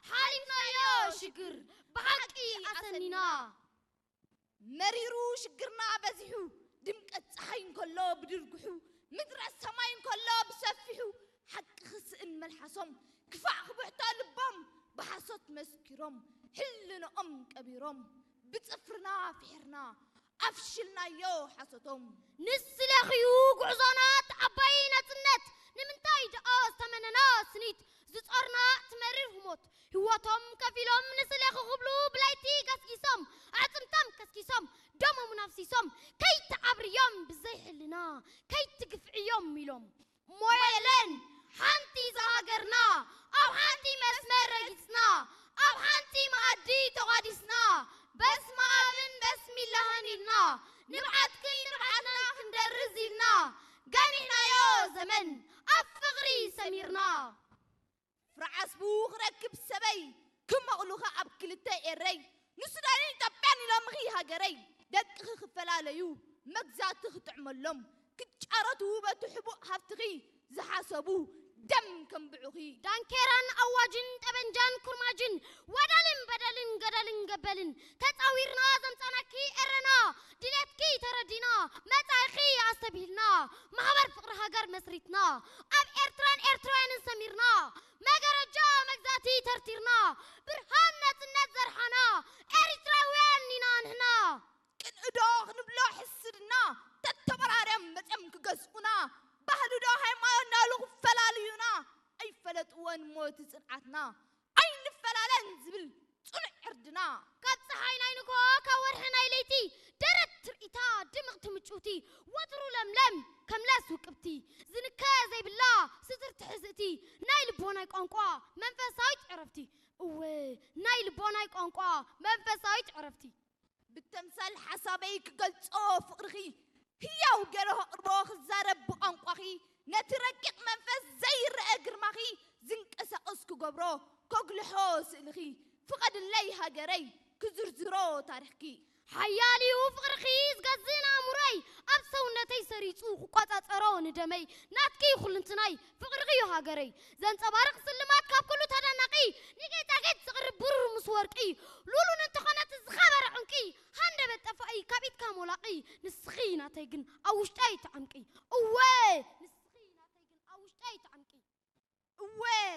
ሓሊፍናዮ ሽግር ብሓቂ ኣሰኒና። መሪሩ ሽግርና በዚሑ፣ ድምቀት ፀሓይ እንከሎ ብድርግሑ፣ ምድረ ሰማይ እንከሎ ብሰፊሑ፣ ሓቂ ክስእን መልሓሶም፣ ክፋእ ክብሕቶ ልቦም፣ ብሓሶት መስኪሮም፣ ሕልንኦም ቀቢሮም፣ ብፅፍርና ፍሒርና ኣፍሽልናዮ ሓሶቶም። ንስለኽዩ ጉዕዞና እቲ ዓባይ ናጽነት፣ ንምንታይ ደኣ ዝተመነና ስኒት፣ ዝጾርና እቲ መሪር ህሞት፣ ህይወቶም ከፊሎም ንስሌኺ ክብሉ ብለይቲ ገስጊሶም፣ ኣዕጽምቶም ከስኪሶም፣ ደሞምን ኣፍሲሶም፣ ከይትዓብርዮም ብዘይ ሕልና፣ ከይትግፍዕዮም ኢሎም። እሞ የለን ሓንቲ ዝሃገርና፣ ኣብ ሓንቲ መስመር ረጊጽና፣ ኣብ ሓንቲ መኣዲ ተቋዲስና፣ በስመ ኣብን በስሚላህን ኢልና፣ ንብዓትክን ንብዓትና ክንደርዝ ኢልና፣ ገኒሕናዮ ዘመን ኣብ ፍቕሪ ሰሚርና። ፍረ ዓስቡ ክረክብ ሰበይ፣ ክመቕሉኺ ኣብ ክልተ ኤረይ፣ ንሱዳንን ኢትዮጵያን ኢሎምኺ ሃገረይ፣ ደቅኺ ክፈላለዩ፣ መግዛእቲ ክጥዕመሎም፣ ክጫረቱ በቲ ሕቡእ ሃብትኺ ዝሓሰቡ፣ ደም ከንብዑኺ። ዳንኬራን ኣዋጅን፣ ጠበንጃን ኩርማጅን፣ ወዳልን በደልን፣ ገደልን ገበልን፣ ተጻዊርና ዘምጻናኪ ኤረና፣ ድሌትኪ ተረዲና፣ መጻኢኺ ኣስተብሂልና፣ ማሕበር ፍቕሪ ሃገር መስሪትና፣ ኣብ ኤርትራን ኤርትራውያንን ሰሚርና፣ መገረጃ መግዛእቲ ተርቲርና፣ ብርሃን ናጽነት ዘርሓና፣ ኤሪትራውያን ኢና ንሕና። ቅንእዶ ክንብሎ ሕስድና፣ ተተበራርዮም መጽዮም ክገዝኡና፣ ባህሊ ዶ ሃይማኖት እናበሉ ክፈላልዩና፣ ኣይፈለጥዎን እሞ እቲ ጽንዓትና፣ ኣይንፈላለን ዝብል ጽኑዕ ዕርድና። ካብ ጸሓይ ናይ ንግሆ፣ ካብ ወርሒ ናይ ለይቲ፣ ደረት ትርኢታ ድምቕቲ ምጭውቲ፣ ወትሩ ለምለም ከም ለስ ውቅብቲ፣ ዝንከ ዘይብላ ስትርቲ ሕዝእቲ፣ ናይ ልቦናይ ቋንቋ መንፈሳዊት ዕረፍቲ። እወ፣ ናይ ልቦናይ ቋንቋ መንፈሳዊት ዕረፍቲ። ብተምሳል ሓሳበይ ክገልጾ ፍቕርኺ፣ ህያው ገይረ ከቕርቦ ክዛረብ ብቋንቋኺ፣ ነቲ ረቂቕ መንፈስ ዘይረአ ግርማኺ ዝንቀሳቐስ ክገብሮ፣ ከጉልሖ ስእልኺ፣ ፍቐድለይ ሃገረይ ክዝርዝሮ ታሪኽኪ። ሓያል እዩ ፍቕርኺ ዝገዝእ ንኣእምሮይ፣ ኣብ ሰውነተይ ሰሪጹ ክቆጻጸሮ ንደመይ፣ ናትኪ ኩልንትናይ ፍቕርኺ እዩ ሃገረይ፣ ዘንጸባርቕ ስልማት ካብ ኩሉ ተደናቒ፣ ንጌጣጌጥ ዝቕርብ ብሩር ምስ ወርቂ፣ ሉሉን እንተኾነት ዝኸበረ ዕንቂ፣ ሃንደበት ጠፋኢ ካብ ኢድካ ሞላቒ፣ ንስኺ ናተይ ግን